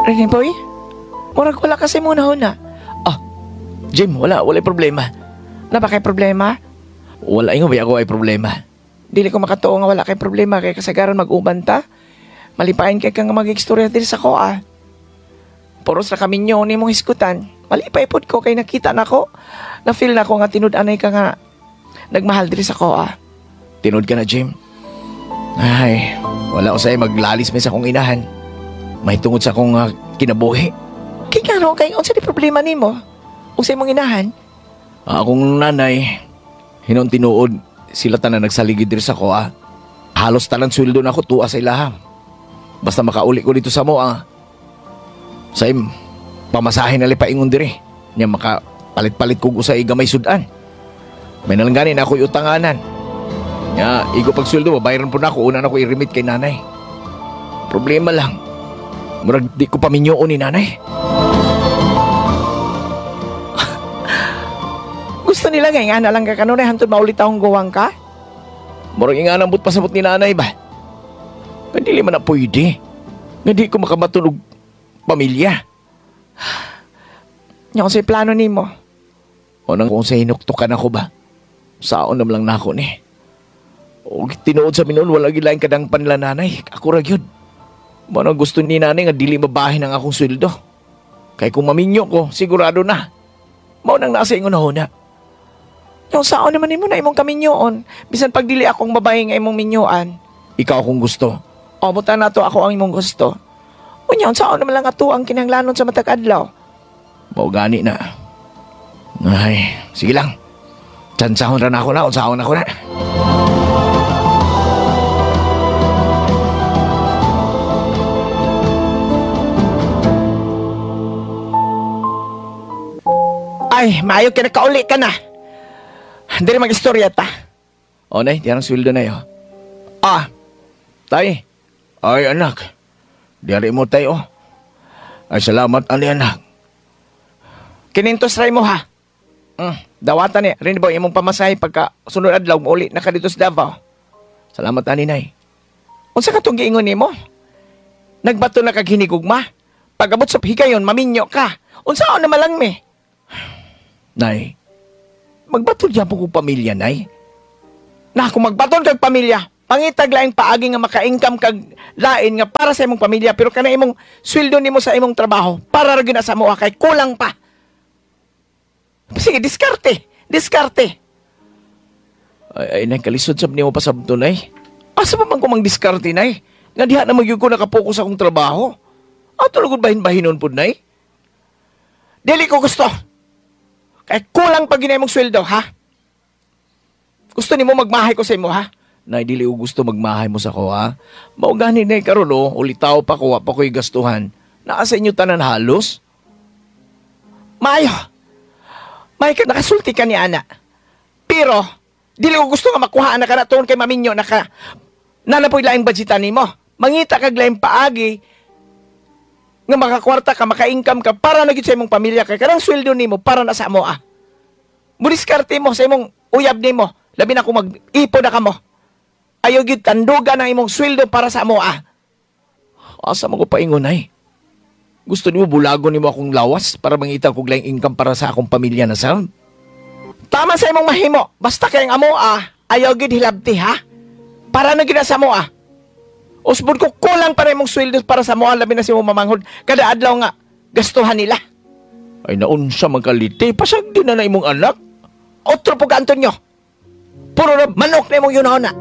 Rene boy, murag wala kasi muna huna. Ah, Jim, wala, wala'y problema. Na ba kay problema? Wala ingon ba ako ay problema. Dili ko makatuo nga wala kay problema kay kasagaran mag-uban ta. Malipayin kay kang mag-istorya diri sa koa. Puros ra kami nyo ni mong hisgutan. Malipay pod ko kay nakita nako. Na feel nako nga tinud-anay ka nga nagmahal diri sa koa. Tinud ka na, Jim. Ay, wala ko sa'yo maglalis may sa akong inahan. May tungod sa akong kinabuhi. Kay ngano kay unsa di problema nimo? Ug sa imong inahan? Akong nanay, hinon tinuod sila tanan nagsaligid diri sa koa. Halos tanan sweldo na ako tuwa sa ilaha. Basta makauli ko dito sa moa. Sa im, pamasahe na lipaingon diri. Nya makapalit-palit kog usay gamay sudan. May nalanggani na ako'y utanganan. Nya, igo pag sweldo, babayaran po na ako. Una na ako i-remit kay nanay. Problema lang, murag di ko paminyoon ni nanay. Gusto nila nga ingana lang ka kanunay hantod maulit akong guwang ka? Murag ingana but pasabot ni nanay ba? Nga dili man na pwede. Nga di ko makabaton og pamilya. Nya kung sa'y plano nimo. O nang kung sa hinuktukan ako ba? Saon naman lang nako ni. O tinuod sa minuon, wala gyud laing kadangpan nila nanay. Ako ra gyud. Mao nang gusto ni nanay nga dili mabahin ang akong sweldo. Kay kung maminyo ko, sigurado na. Mao nang nasa ingon na. Yung saon naman nimo na imong kaminyoon. Bisan pag dili akong babae nga imong minyoan. Ikaw akong gusto. O, buta na to ako ang imong gusto. Unya, unsaon naman lang ato ang kinahanglanon sa matag adlaw. Mao gani na. Ay, sige lang. Tsansahon ra na ako na, unsaon ako na. Ay, maayo ka nakauli ka na. Dili mag-istorya ta. O, nay, di ang sweldo na yo. Ah, tay. Ay, anak. Diyari mo tayo. Ay, salamat, ani anak. Kinintos ray mo, ha? Dawatan ni. Rin ba imong pamasahe pagka sunod adlaw mauli na ka dito sa Davao? Salamat, ani, nay. Unsa ka tong giingon nimo? Nagbato na kag hinigugma. Pag-abot sa higayon, maminyo ka. Unsaon na malang mi? Nay, magbato diyan po kong pamilya, nay. Na, kung magbaton kag pamilya, pangitag laing paagi nga maka-income kag lain nga para sa imong pamilya, pero kana imong sweldo nimo sa imong trabaho, para ra gyud na sa moa kay kulang pa. Sige, diskarte, diskarte. Ay, ay, nay, kalisod sab nimo pasabto, nay. Asa pa man ko mang diskarte, nay? Nga diha na magyud ko nakapokus akong trabaho. Ato lugod bahin-bahinon pud, nay. Dili ko gusto. Kay kulang pa ginay mong sweldo, ha? Gusto nimo magmahay ko sa imo, ha? Nay, dili ko gusto magmahay mo sa ko, ha? Mao gani nay karon, oh, ulitaw pa ko, wa pa ko'y gastuhan. Naa sa inyo tanan halos. Maayo. May ka, nakasulti ka ni ana. Pero, dili ko gusto nga makuhaan na ka na tuon kay maminyo na ka. Nanapoy laing budgetan nimo. Mangita kag laing paagi nga makakwarta ka, maka-income ka para na gyud sa imong pamilya kay kanang sweldo nimo para na sa amo, ah. Mudiskarte mo sa imong uyab nimo. Labi na kung mag-ipon na kamo. Ayaw gyud tandugan ang imong sweldo para sa amo, ah. Asa man ko paingon, ay? Gusto nimo bulagon nimo akong lawas para mangita kog laing income para sa akong pamilya na sa? Tama sa imong mahimo. Basta kay ang amo, ah, ayaw gyud hilabti, ha? Para na gyud na sa amo, ah. Usbon ko kulang para imong sweldo para sa amo, labi na si imong mamanghod. Kada adlaw nga gastuhan nila. Ay naunsa man kalite, pasag din na na imong anak. Otro po ka Antonio. Puro na manok na imong yunahon na.